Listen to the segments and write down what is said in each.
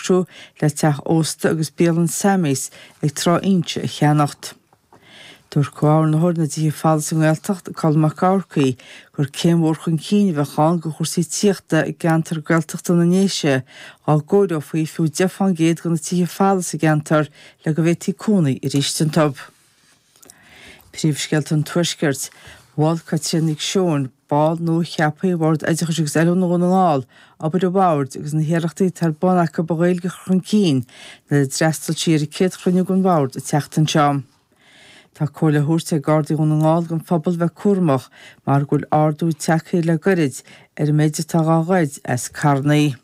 socrú le teach ósta agus bialann Sammy's ag Trá Inse a cheannacht. Dúirt Comhordaitheoir na dTithe Folamh sa nGaeltacht, Colm Mac Eachmharcaigh, gur céim mhór chun cinn a bheadh ann do chúrsaí tithíochta i gceantar Gaeltachta na nDéise dá gcóireofaí fiú 10 fán gcéad de na tithe folamh sa gceantar le go bhféadfaí cónaí arís iontu. Príomhscéalta an Tuaiscirt. Mhol Caitríona Nic Seoin, ball nua-cheaptha Bhord Oideachais agus Oiliúna Dhún na nGall, obair an Bhoird agus na hiarrachtaí atá ar bun acu an Ghaeilge a chur chun cinn nuair a d'fhreastail sí ar an céad chruinniú den Bhord an tseachtain seo. Tá comhairle á thabhairt ag Gardaí Dhún na nGall don phobal bheith cúramach mar go bhfuil ardú tagtha le goirid ar an méid atá dhá ghoid as carrannaí.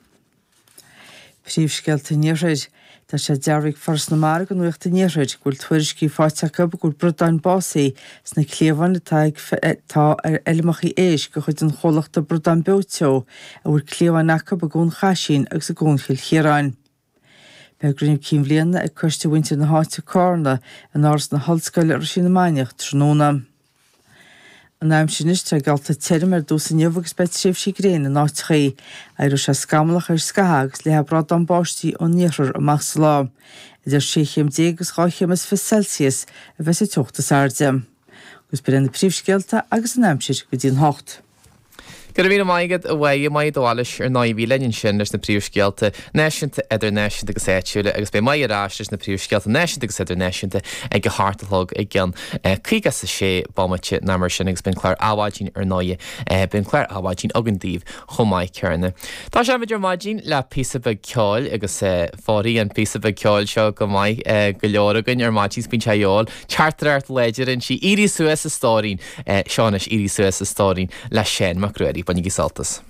Príomhscéalta an Iarthair. Tá sé dearbhaithe ag Foras na Mara do Nuacht an Iarthair go bhfuil tuairiscí faighte acu go bhfuil bradáin básaithe sna cliabháin atá ag atá ar fheilmeacha éisc de chuid an chomhlachta Bradán Beo Teo a bhfuil cliabháin acu i gCuan Chaisín agus i gCuan Chill Chiaráin. Beidh cruinniú cinn bhliana ag Coiste Mhuintir na hÁite, Cárna, in Áras na hOllscoile, Roisín na Mainiach, tráthnóna. An aimsir anois, tá geallta tirim ar dtús inniu agus beidh tréimhsí gréine in áiteachaí. Éireoidh sé scamallach ar scaitheamh agus léifidh brádán báistí ón iarthar amach sa lá. Idir 16 chéim agus 2 chéim is 20 Celsius a bheas an teocht is airde. Agus b'in iad na príomhscéalta agus an aimsir go dtí an hocht. Go raibh míle maith agat, a Mháire, Máire de Bhailís, ar ndóigh, a bhí linn ansin leis na príomhscéalta náisiúnta, idirnáisiúnta agus áitiúla agus beidh Máire ar ais leis na príomhscéalta náisiúnta agus idirnáisiúnta ag a hocht a chlog i gceann 56 bomaite nó mar sin agus beidh an clár Adhmhaidin ar ndóigh, beidh an clár Adhmhaidin againn daoibh chomh maith céanna. Tosóidh muid ar maidin le píosa beag ceoil agus fóirfidh an píosa beag ceoil seo go maith go leor againn ar maidin, 's bíonn sé a dhíobháil. Teachtaireacht láidir inti, éirigh suas a stóirín! Seo anois Éirigh Suas a Stóirín le Seán Mac Ruairí. Bainigí sult as.